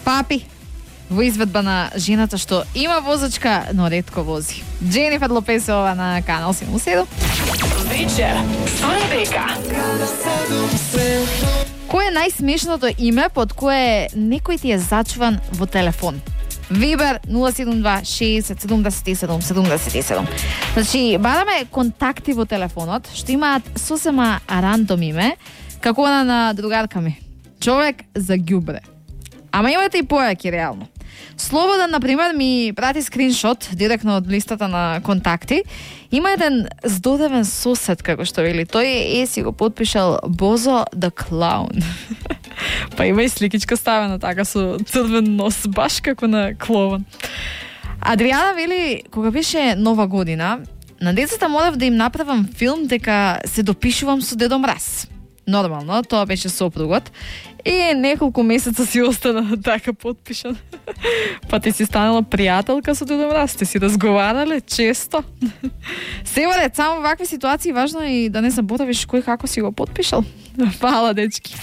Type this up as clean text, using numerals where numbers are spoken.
Папи, во изведба на жената што има возачка, но ретко вози. Дженифер Лопесова на Канал 77. Вечер со Ребека. Кој е најсмешното име под кое некој ти е зачуван во телефон? Вибер 072-60-77-77. Значи, бараме контакти во телефонот што имаат сосема рандом име, како она на другарка ми. Човек за ѓубре. Ама имате и појаки реално. Слободан, например, ми прати скриншот директно од листата на контакти. Има еден здодевен сосед, како што вели. Тој си го подпишал Бозо the Clown. Па има и сликичка ставена така со црвен нос, баш како на клоун. Адриана вели, кога беше Нова година, на децата морав да им направам филм дека се допишувам со Дедо Мраз. Нормално, тоа беше сопругот. И неколку месеца си остана така подпишан. Па ти си станала пријателка со Дедо Мраз, сте си разговарале често. Севарет, само вакви ситуации важно е и да не заборавиш кој како си го подпишал. Фала, дечки.